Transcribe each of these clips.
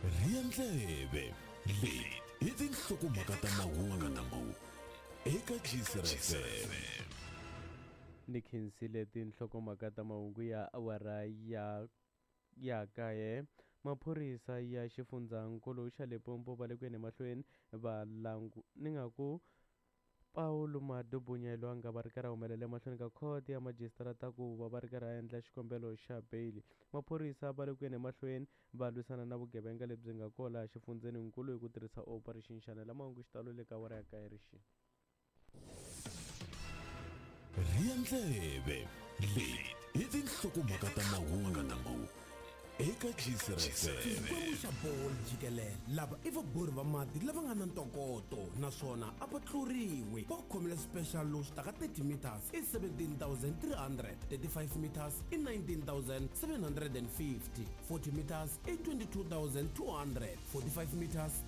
Rhiya ndleve, leti i tinhlokomhaka ta mahungu eka GCR FM. Ni khensile tinhlokomhaka ta mahungu ya awara ya ya kaye. Maphorisa ya xifundzankulu xa Limpopo va le ku yeni emahlweni va langu ni nga ku Paulo Madubunya loyi a nga va ri karhi a humelela emahlweni ka khoto ya majisitarata ku va va ri karhi a endla xikombelo xa beyili. Maphorisa va le ku yeni emahlweni va lwisana na vugevenga lebyi nga kona laha xifundzeninkulu hi ku tirhisa Operation Shanela. Mahungu xitalo le ka awara ya kaye rixini. Rhiya ndleve, leti i tinhlokomhaka ta mahungu eka GCR FM. Xikwembu xa bolo jikelele lava i vabori va mati lava nga na ntokoto naswona a va tluriwi. Va khomile special lowu swi taka 30 meters i 17300, 35 meters i 19750, 40 meters i 22200, 45 meters.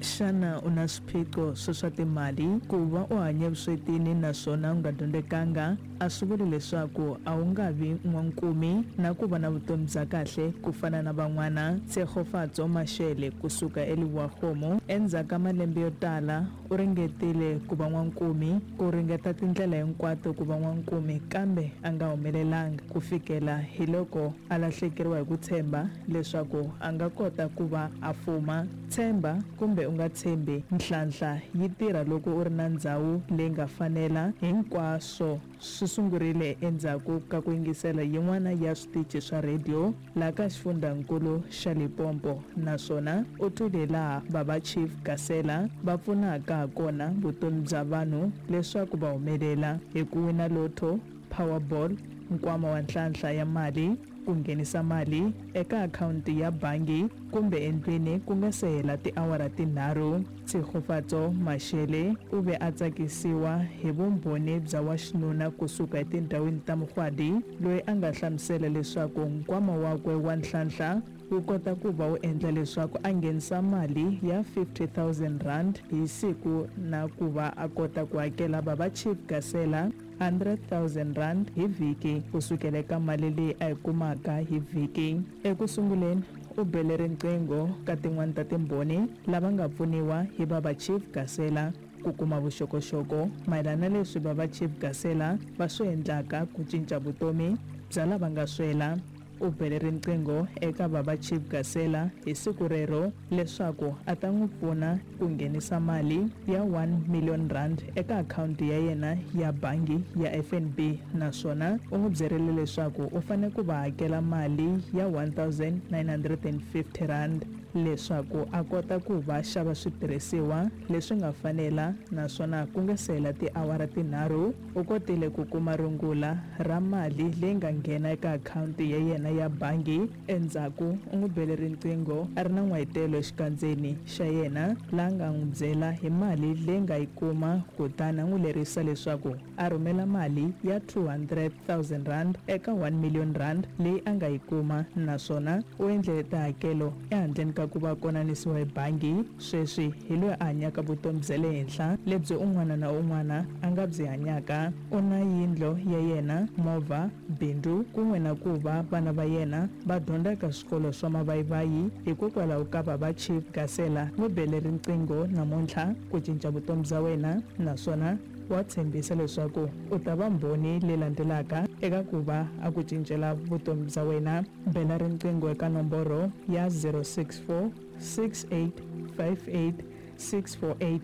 Xana u na swiphiqo swa swa timali? Ku va u hanye evuswetini naswona u nga dyondzekanga a swi vuli leswaku a wu nga vi n'wankumi na ku va na vutomi bya kahle ku fana na van'wana. Tshegofatso Mashele ku suka eLebowa-Kgomo, endzhaku ka malembe yo tala u ringetile ku va n'wankumi, ku ringeta tindlela hinkwato ku va n'wankumi kambe a nga humelelanga ku fikela hi loko a lahlekeriwa hi ku tshemba leswaku a nga kota ku va a fuma. Tshemba kumbe u nga tshembi, nhlanhla yi tirha loko u ri na ndzhawu leyi nga fanela. Hinkwaswo swi sungurile endzhaku ka ku yingisela yin'wana ya switichi swa rhediyo laha ka xifundhankulu xa Limpopo naswona u twile hilaha Baba Chief Gasela va pfunaka hakona vutomi bya vanhu leswaku va humelela hi ku wina lotto, Powerball, nkwama wa nhlanhla ya mali, ku nghenisa mali eka akhawunti ya bangi kumbe endlwini ku nga se hela tiawara tinharhu. Tshegofatso Mashele u ve a tsakisiwa hi vumbhoni bya wa xinuna ku suka etindhawini ta Mugwadi loyi a nga hlamusela leswaku nkwama wakwe wa nhlanhla wu kota ku va wu endla leswaku a nghenisa mali ya R50,000 hi siku na ku va a kota ku hakela Baba Chief Gasela R100,000 hi vhiki ku sukela eka mali leyi a yi kumaka hi vhiki. Eku sunguleni, u bele riqingho ka tin'wana ta Timbhoni lava nga pfuniwa hi Baba Chief Gasela ku kuma vuxokoxoko mayelana na leswi Baba Chief Gasela va swi endlaka ku cinca vutomi bya lava nga swela. U bele riqingho eka Baba Chief Gasela hi siku rero leswaku a ta n'wi pfuna ku nghenisa mali ya R1 million eka akhawunti ya yena ya bangi ya FNB naswona u n'wi byerile leswaku u fanele ku va hakela mali ya R1 950 leswaku a kota ku va xava switirhisiwa leswi nga fanela naswona ku nga se hela tiawara tinharhu u kotile ku kuma rungula ra mali leyi nga nghena eka akhawunti ya yena ya bangi. Endzhaku u n'wi bele riqingho a ri na n'wayitelo exikandzeni xa yena laha nga n'wi byela hi mali leyi nga yi kuma kutani a n'wi lerisa leswaku a rhumela mali ya R200 000 eka R1 million leyi a nga yi kuma naswona u endle tihakelo ehandleni ka ku va konanisiwa hi bangi. Sweswi hi loyi a hanyaka vutomi bya le henhla lebyi un'wana na un'wana a nga byi hanyaka. U na yindlo ya yena, movha, bindzu kun'we na ku va vana va yena va dyondza eka swikolo swa mavayivayi hikokwalaho ka Baba Chief Gasela. N'wi bele riqingho namuntlha ku cinca vutomi bya wena naswona wa tshembisa leswaku u ta va mbhoni leyi landzelaka eka ku va a ku cincela vutomi bya wena. Bela riqingho eka nomboro ya 064 6858 648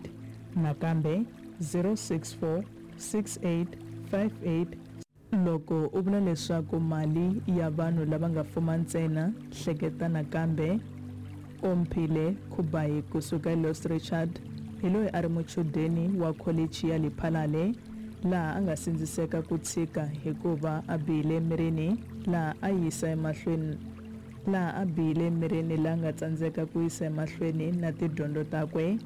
nakambe 064 6858. Loko u vula leswaku mali ya vanhu lava nga fuma ntsena, hleketa nakambe. Omphile Khubayi ku suka eLos Richard hi loyi a ri muchudeni wa kholichi ya Lephalale laha a nga sindziseka ku tshika hikuva a bihile emirini laha a yisa emahlweni laha a bihile emirini laha nga tsandzeka ku yisa emahlweni na tidyondzo takwe.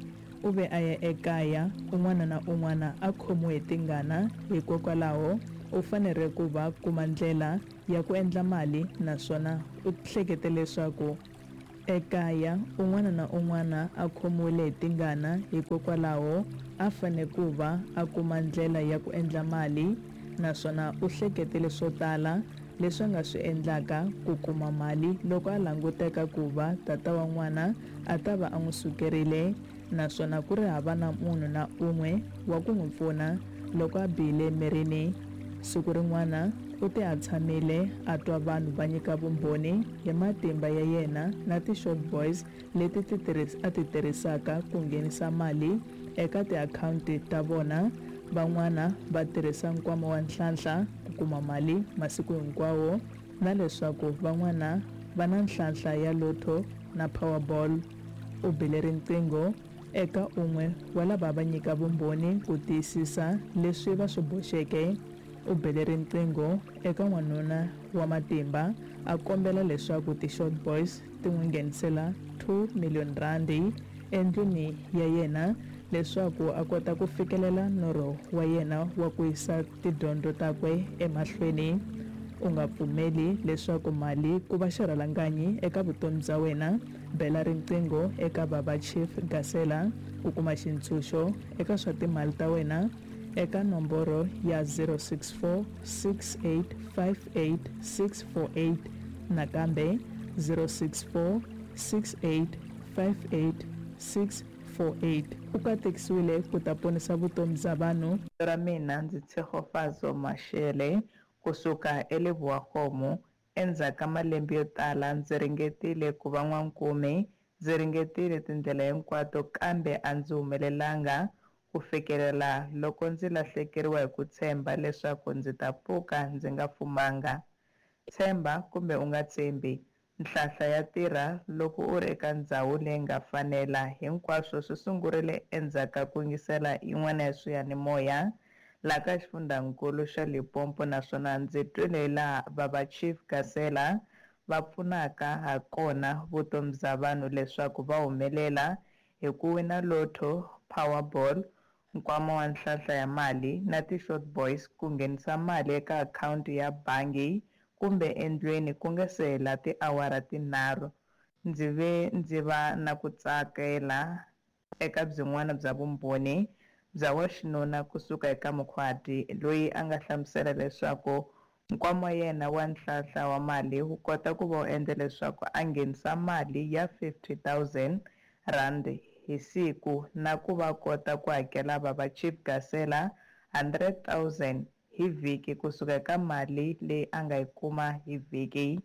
U ve a ya ekaya un'wana na un'wana a khomiwe hi tingana, hikokwalaho u fanere ku va kuma ndlela ya ku endla mali naswona u hlekete leswaku ekaya un'wana na un'wana a khomiwile hi tingana, hikokwalaho a. a fanele ku va a kuma ndlela ya ku endla mali naswona u hleketele swo tala leswi a nga swi endlaka ku kuma mali loko a languteka ku va tata wa n'wana a ta va a n'wi sukerile naswona ku ri hava na munhu na un'we wa ku n'wi pfuna loko a bihile emirini. Siku rin'wana u te a tshamile a twa vanhu va nyika vumbhoni hi matimba ya yena na ti-short boys leti ti a ti tirhisaka ku nghenisa mali eka tiakhawunti ta vona. Van'wana va tirhisa nkwama wa Nhlanhla ku kuma mali masiku hinkwawo na leswaku van'wana va na nhlanhla ya Lotto na Powerball. U bile riqingho eka un'we wa lava va nyika vumbhoni ku tiyisisa leswi va swi boxeke. U bele riqingho eka n'wanuna wa matimba a kombela leswaku ti-short boys ti n'wi nghenisela 2 million randi endlwini ya yena leswaku a kota ku fikelela norho wa yena wa ku yisa tidyondzo takwe emahlweni. U nga pfumeli leswaku mali ku va xirhalanganyi eka vutomi bya wena. Bela riqingho eka Baba Chief Gasela ku kuma xintshunxo eka swa timali ta wena eka nomboro ya 064 6858 648, nakambe 064 6858 648. U katekisiwile ku ta ponisa vutomi bya vanhu. Vito ra mina ndzi Tshegofatso Mashele kusuka eLebowakgomo. Endzhaku ka malembe yo tala ndzi ringetile ku va n'wankumi, ndzi ringetile tindlela hinkwato kambe a ndzi humelelanga ku fikelela loko ndzi lahlekeriwa hi ku tshemba leswaku ndzi ta pfuka ndzi nga fumanga. Tshemba kumbe u nga tshembi, nhlahla ya tirha loko u ri eka ndhawu leyi nga fanela. Hinkwaswo swi sungurile endzhaku ka ku yingisela yin'wana ya swiyanimoya laha ka xifundzankulu xa Limpopo, naswona ndzi twile laha Baba Chief Gasela va pfunaka ha kona vutomi bya vanhu leswaku va humelela hi ku wina Lotto, Powerball, nkwama wa nhlahla ya mali na ti-short boys ku nghenisa mali eka akhawunti ya bangi kumbe endlwini ku nga se hela tiawara tinharhu. Ndzi ve ndzi va na ku tsakela eka byin'wana bya vumbhoni bya wa xinuna kusuka eka Mukhwati, loyi a nga hlamusela leswaku nkwama wa yena wa nhlahla wa mali wu kota ku va wu endla leswaku a nghenisa mali ya 50 000 rand hi siku na ku va kota ku hakela Baba Chief Gasela 100 000 hi vhiki kusuka eka mali leyi a nga yi kuma hi vhiki.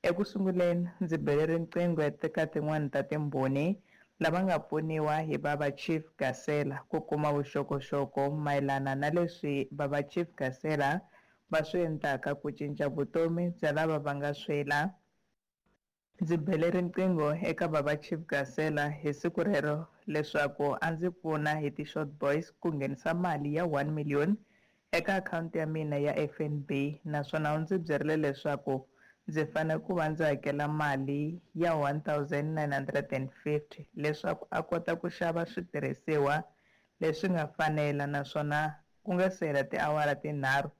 Eku sunguleni ndzi bele riqingho eka tin'wani ta timbhoni lava nga pfuniwa hi Baba Chief Gasela ku kuma vuxokoxoko mayelana na leswi Baba Chief Gasela va swi endlaka ku cinca vutomi bya lava va nga swela. Ndzi bele riqingho eka Baba Chief Gasela hi siku rero leswaku a ndzi pfuna hi ti-short boys ku nghenisa mali ya 1 million eka akhawunti ya mina ya FNB, naswona u ndzi byerile leswaku ndzi fanele ku va ndzi hakela mali ya 1950 leswaku a kota ku xava switirhisiwa leswi nga fanela, naswona ku nga se hela tiawara tinharhu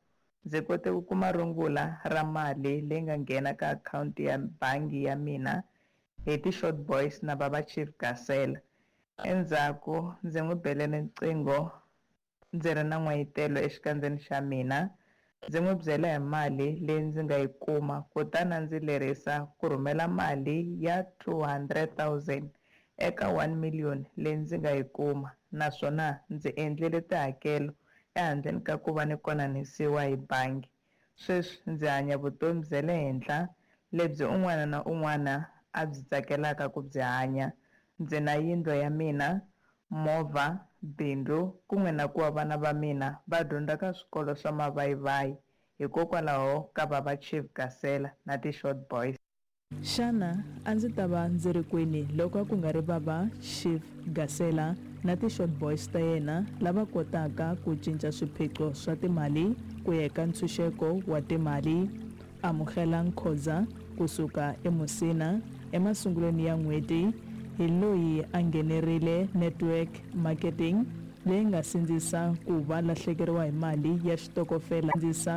ndzi kote ku kuma rungula ra mali leyi nga nghena ka akhawunti ya bangi ya mina hi ti-short boys na Baba Chief Gasela. Endzhaku ndzi n'wi bele riqingho ndzi ri na n'wayitelo exikandzeni xa mina, ndzi n'wi byela hi mali leyi ndzi nga yi kuma, kutani a ndzi lerisa ku rhumela mali ya 200 000 eka 1 million leyi ndzi nga yi kuma, naswona ndzi endlile tihakelo ehandleni ka ku va ni konanisiwa hi bangi. Sweswi ndzi hanya vutomi bya le henhla lebyi un'wana na un'wana a byi tsakelaka ku byi hanya. Ndzi na yindlu ya mina, movha, bindzu kun'we na ku va vana va mina va dyondza ka swikolo swa mavayivayi hikokwalaho ka Baba Chief Gasela na ti-short boys. Xana a ndzi ta va ndzi ri kwini loko a ku nga ri Baba Chief Gasela na ti-short boys ta yena lava kotaka ku cinca swiphiqo swa timali ku ya eka ntshunxeko wa timali? Amukela Nkhoza kusuka eMusina emasungulweni ya n'hweti hi loyi a nghenerile network marketing leyi nga sindzisa ku va lahlekeriwa hi mali ya xitokofela. Sindzisa.